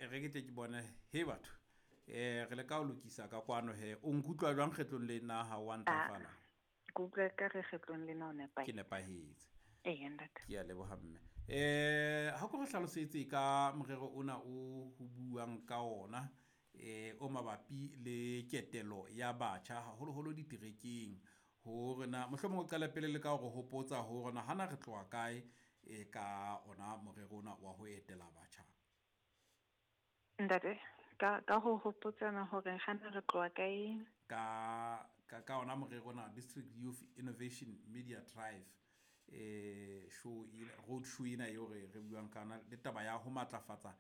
E re ke tle ke bone he batho re le ka ho lokisa ka kwano he o nkutlwa jwang kgetlong lena ha wa ntlafala? Ke utlwa ka re kgetlong lena o nepahetse. Ke nepahetse. Eya ntate. Ke a leboha mme. Ha ko re hlalosetse ka morero ona o ho buang ka ona o mabapi le ketelo ya batjha haholoholo diterekeng hore na mohlomong o qale pele le ka hore hopotsa hore na hana re tloha kae ka ona morero ona wa ho etela batjha. Ntate, ka ho hopotsana hore hana re tloha kae? Ka ona morero ona District Youth Innovation Media Drive show road show ena eo re buang ka yona le taba ya ho matlafatsa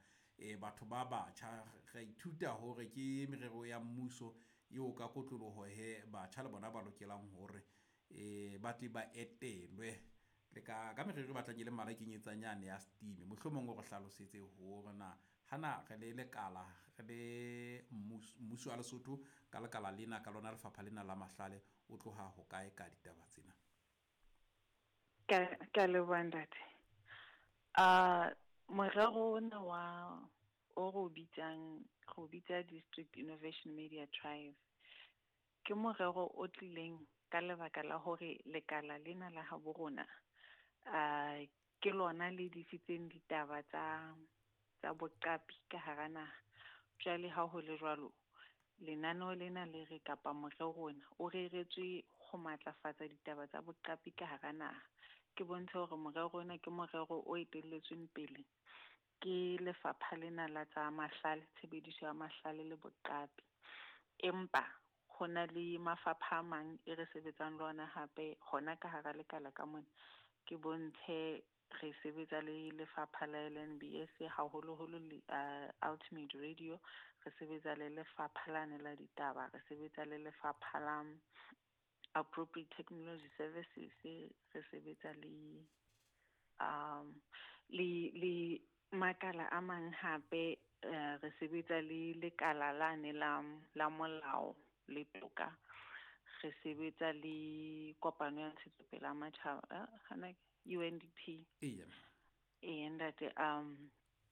batho ba batjha. Re ithuta hore ke merero ya mmuso eo ka kotloloho he batjha le bona ba lokelang hore ba tle ba etelwe le ka merero e batlang e le mmalwa e kenyetsang yane ya steam. Mohlomong o re hlalosetse hore na hana re le lekala re le mmuso wa Lesotho ka lekala lena ka lona lefapha lena la mahlale o tloha ho kae ka ditaba tsena? Ka leboha ntate. Morero ona wa o re o bitsang, re o bitsa District Innovation Media Drive. Ke morero o tlileng ka lebaka la hore lekala lena la habo rona ke lona le disitseng ditaba tsa boqapi ka hara naha. Jwale ha ho le jwalo, lenaneo lena le re kapa morero ona o reretswe ho matlafatsa ditaba tsa boqapi ka hara naha. Ke bontshe hore morero ona ke morero o etelletsweng pele ke lefapha lena la tsa mahlale, tshebediso ya mahlale le boqapi. Empa ho na le mafapha a mang e re sebetsang le ona hape hona ka hara lekala ka mona. Ke bontshe re sebetsa le lefapha la LNBS haholoholo le Ultimate Radio, re sebetsa le lefapha lane la ditaba, re sebetsa le lefapha la Appropriate Technology Services, re sebetsa le le makala a mang hape, re sebetsa le lekala lane la molao le toka, re sebetsa le kopano ya ntshetsopele ya matjhaba, hana UNDP. Eya. Eya ntate,